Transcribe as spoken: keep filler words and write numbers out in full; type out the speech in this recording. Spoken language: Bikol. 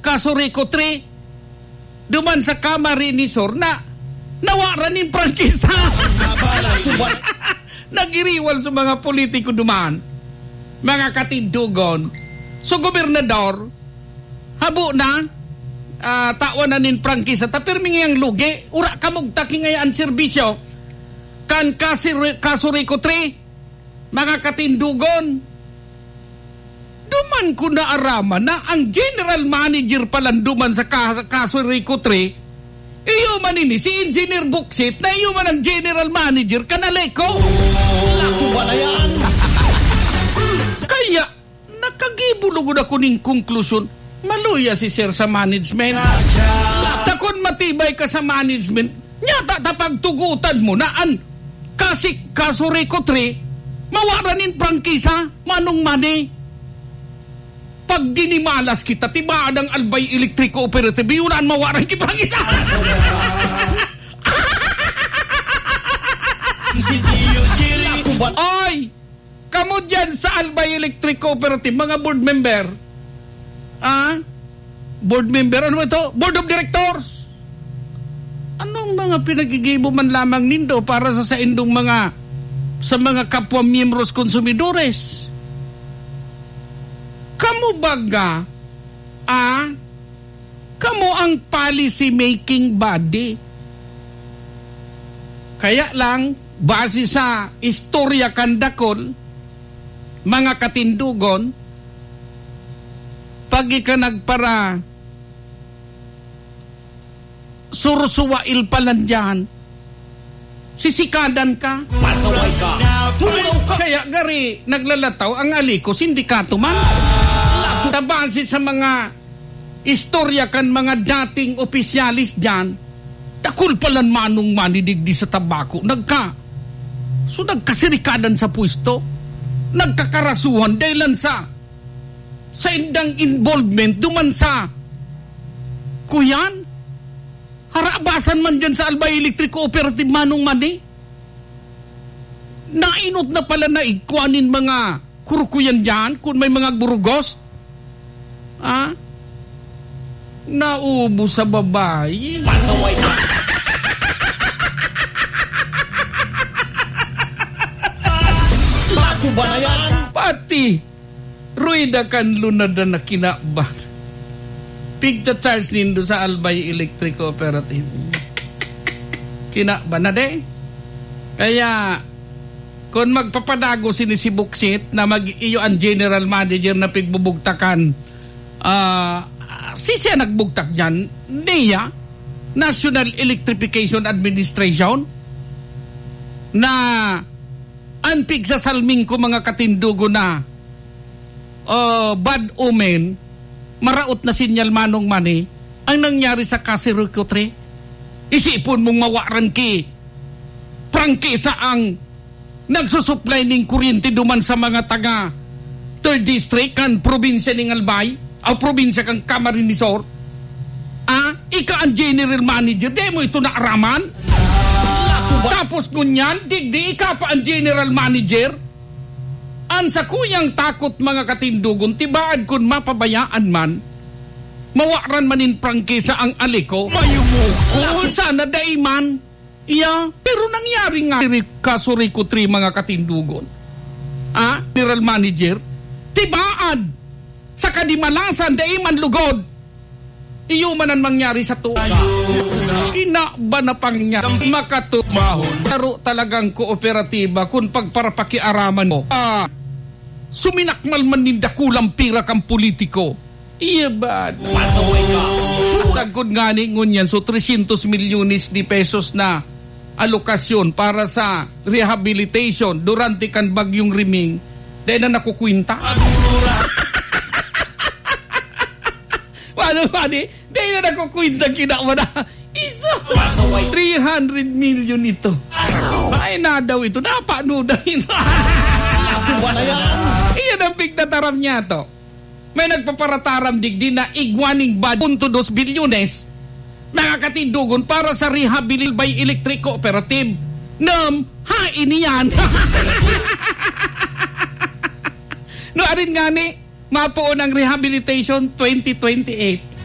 Casureco three, duman sa Camarines Sur na nawaran nin prangkisa. Nagiriwal sa mga politiko duman, mga katindogon. So, gobernador, habo na, ah, tawan na nin prangkisa, ta pirmi ngayang lugi, ura kamugtak ngaya an serbisyo kan Casureco three, mga katindogon. Duman ko naaraman na ang general manager palan duman sa Ca-, Casureco three, iyo man ini, si Engineer Buksit, na iyo man ang general manager kan Aleco. Lato ba na yan? Kaya, nakagibo lugod ako ning konklusyon, maluya si Sir sa management. Ta kun matibay ka sa management, nyata ta pagtugotan mo na an Casi-, Casureco three, mawaran nin prangkisa, Manong Manny. Pag dinimalas kita, tibaad ang Albay Electric Cooperative, yun ang mawaran ki prangkisa. Ay! Kamo dyan sa Albay Electric Cooperative, mga board member. Ah? Board member, ano ito? Board of Directors. Anong mga pinaggigibo man lamang nindo para sa saindong mga, sa mga kapwa miyembros konsumidores? Kamo baga, ah, kamo ang policy making body. Kaya lang, base sa istorya kan dakul, mga katindogon, pag ika nagpara-, sursuwail pa lang diyan, sisikadan ka. Pasaway ka. Tulaw ka. Kaya gari, naglalataw ang Aleco, sindikato man. Tabasi sa mga istorya kan mga dating opisyalis diyan, dakul palan Manong Manny digdi sa Tabaco. Nagka-, so, nagkasirikadan sa pwesto. Nagkakarasuhan dahilan sa, sa indang involvement duman sa, kuyan, harabasan man dyan sa Albay Electric Cooperative, Manong Manny. Nainot na pala na igkwa nin mga kurukuyan dyan, kun may mga burugos. Ah? Naubos sa babae. Pasaway ka. Bago ba na yan? Pati ruweda kan lunada na kinaban. Pigcha-charge nindo sa Albay Electric Cooperative. Kinaban na de. Kaya, kun magpapadagos ini si Buksit na mag-, iyo an general manager na pigbubugtakan, ah, si siya nagbugtak diyan, niya, National Electrification Administration, na an pigsasalming ko, mga katindogon, na, ah, bad omen, maraot na sinyal, Manong Manny, ang nangyari sa Casureco three. Isipon mong mawaran ki prangkisa ang nagsusuplay ning kuryente duman sa mga taga Third District kan probinsya ning Albay, o probinsya kan Camarines Sur. Ah, ika ang general manager, di mo ito naaraman? Tapos ngunyan, digdi ika pa ang general manager? An sakuyang takot, mga katindogon, tibaad kun mapabayaan man, mawaran man nin prangkisa ang Aleco. Mayumukol! Sana dai man. Iya, pero nangyari nga diri, Casureco three, mga katindogon. Ah, general manager, tibaad sa kadimalasan, dai man lugod. Iyo man an mangyari sa tuga. Kinaban na pangya, makatu-, taro talagang kooperatiba kun pagparapakiaraman mo. Ah, suminakmal man nin dakulang pira kan politiko. Iya ba? Pasaway ka. Sagkod ngani ngunyan, so, trescientos milyones de pesos na alokasyon para sa rehabilitation durante kan Bagyong Riming, dai na nakukwenta. Ano ba di? Dai na nakukwenta, kinawa na. Isa. Pasaway. Three hundred million ito. Ay, na daw ito. Napano daw ito? Nakuha na yan. Iyan ang pigtataram niya to. May nagpaparataram digdi na igwa ning bad punto dos bilyones, mga katindogon, para sa rehabilitation by Electric Cooperative. Nam, hain iyan. No, arin ngani, mapoon ang rehabilitation twenty twenty-eight.